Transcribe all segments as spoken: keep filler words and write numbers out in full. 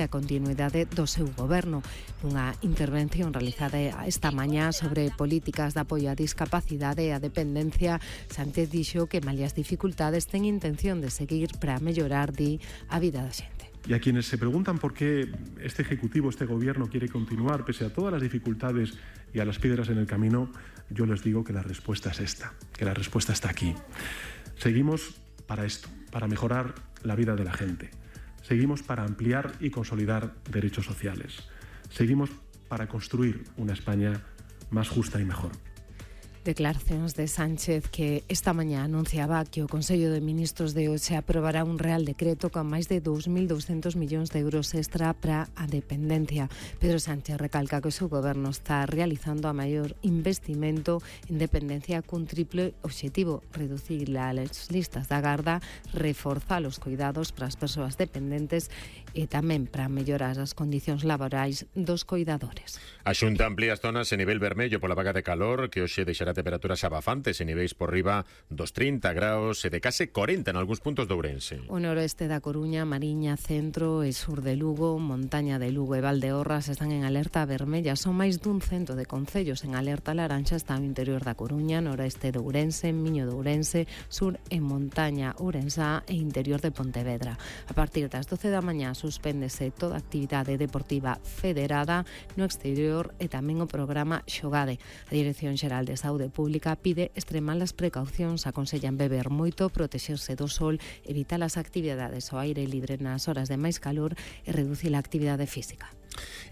a continuidade do seu goberno. Nunha intervención realizada esta mañá sobre políticas de apoio á discapacidade e a dependencia, Sánchez dixo que malia as dificultades ten intención de seguir para mellorar, di, a vida da xente. Y a quienes se preguntan por qué este Ejecutivo, este Gobierno quiere continuar pese a todas las dificultades y a las piedras en el camino, yo les digo que la respuesta es esta, que la respuesta está aquí. Seguimos para esto, para mejorar la vida de la gente. Seguimos para ampliar y consolidar derechos sociales. Seguimos para construir una España más justa y mejor. Declaracións de Sánchez que esta mañá anunciaba que o Consello de Ministros de hoxe aprobará un real decreto con máis de dous mil douscentos millóns de euros extra para a dependencia. Pedro Sánchez recalca que o seu goberno está realizando a maior investimento en dependencia cun triple obxectivo: reducir as listas da garda, reforzar os cuidados para as persoas dependentes e tamén para mellorar as condicións laborais dos cuidadores. A Xunta amplía as zonas en nivel vermello pola vaga de calor que hoxe deixará temperaturas abafantes en niveis por riba dos trinta graus e de case corenta en algúns puntos de Ourense. O noroeste da Coruña, Mariña, centro e sur de Lugo, montaña de Lugo e Valdeorras están en alerta vermella. Son máis dun cento de concellos en alerta laranxa. Está no interior da Coruña, noroeste de Ourense, Miño de Ourense, sur e montaña ourensá e interior de Pontevedra. A partir das doce da mañá suspéndese toda actividade deportiva federada no exterior e tamén o programa Xogade. A Dirección Xeral de Saúde Pública pide extremar as precaucións, aconsellan beber moito, protexerse do sol, evitar as actividades ao aire libre nas horas de máis calor e reducir a actividade física.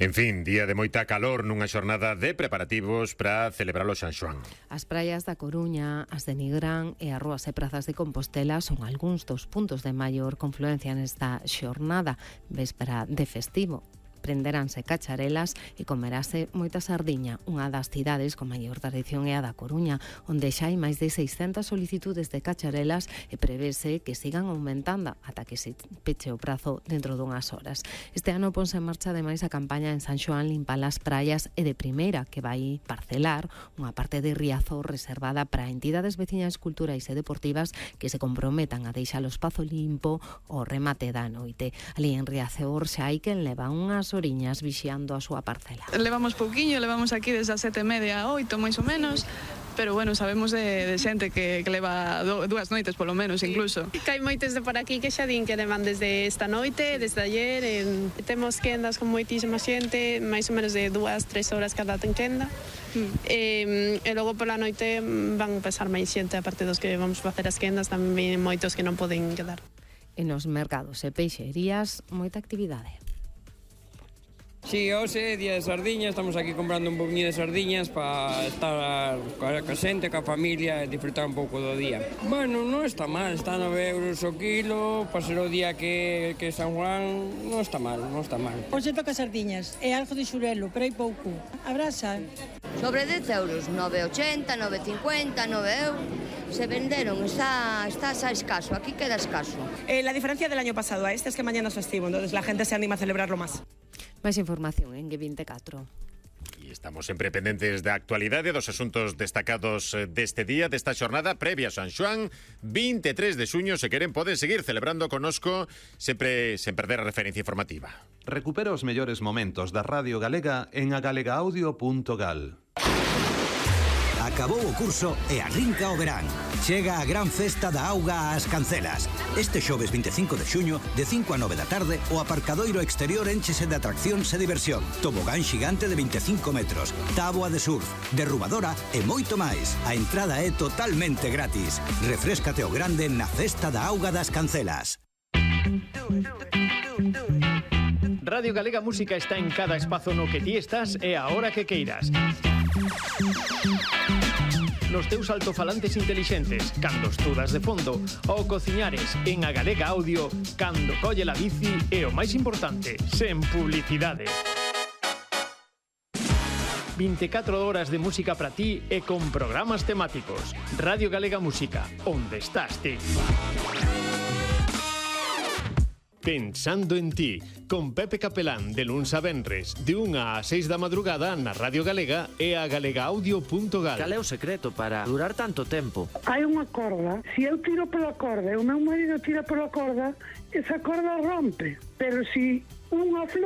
En fin, día de moita calor nunha xornada de preparativos para celebrar o San Xoán. As praias da Coruña, as de Nigrán e as rúas e prazas de Compostela son algúns dos puntos de maior confluencia nesta xornada, véspera de festivo. Prenderánse cacharelas e comerase moita sardiña. Unha das cidades con maior tradición é a da Coruña, onde xa hai máis de seiscentas solicitudes de cacharelas e prevese que sigan aumentando ata que se peche o prazo dentro dunhas horas. Este ano ponse en marcha ademais a campaña en San Xoán Limpa las praias e de primeira, que vai parcelar unha parte de Riazor reservada para entidades veciñas culturais e deportivas que se comprometan a deixar o espazo limpo ao remate da noite. Ali en Riazor xa hai quen leva unhas oriñas vixiando a súa parcela. Levamos pouquiño, levamos aquí desde as sete e media a oito, máis ou menos, pero bueno, sabemos de, de xente que, que leva do, dúas noites polo menos, incluso. Que hai moitos de por aquí que xa din que levan desde esta noite, desde ayer, en, temos quendas con moitísima xente, máis ou menos de dúas, tres horas cada ten quenda, mm. e, e logo pola noite van pasar máis xente, aparte dos que vamos facer as quendas, tamén moitos que non poden quedar. E nos mercados e peixerías, moita actividade. Sí, hoxe, día de sardiñas, estamos aquí comprando un pouquinho de sardiñas para estar coa xente, coa familia e disfrutar un pouco do día. Bueno, non está mal, está nove euros o kilo, para ser o día que, que San Juan, non está mal, non está mal. Hoxe toca sardiñas e algo de xurelo, pero hai pouco. A brasa. Sobre dez euros, nove ochenta, nove cincuenta, nove euros. Se venderon, está, está xa escaso, aquí queda escaso. Eh, la diferencia del año pasado a este es que mañana es festivo, entonces la gente se anima a celebrarlo más. Máis información en G veinticuatro. E estamos sempre pendentes da actualidade dos asuntos destacados deste día, desta xornada previa a San Xoán, vinte e tres de xuño. Se queren, poden seguir celebrando conosco, sempre sen perder a referencia informativa. Recupera os mellores momentos da Radio Galega en agalegaudio punto gal. Acabou o curso e arrinca o verán. Chega a gran festa da auga ás Cancelas. Este xoves vinte e cinco de xuño, de cinco a nove da tarde, o aparcadoiro exterior énchese de atraccións e diversión. Tobogán xigante de vinte e cinco metros, táboa de surf, derrubadora e moito máis. A entrada é totalmente gratis. Refréscate o grande na festa da auga das Cancelas. Radio Galega Música está en cada espazo no que ti estás e a hora que queiras. Nos teus altofalantes intelixentes, cando estudas de fondo, ou cociñares en a Galega Audio, cando colle la bici e o máis importante, sen publicidade. vinte e catro horas de música para ti e con programas temáticos. Radio Galega Música, onde estás ti? Pensando en ti, con Pepe Capelán, de luns a venres, de unha a seis da madrugada na Radio Galega e a galegaudio punto gal. Cal é o secreto para durar tanto tempo? Hai unha corda, se eu tiro pola corda e o meu marido tira pola corda, esa corda rompe, pero se unha flor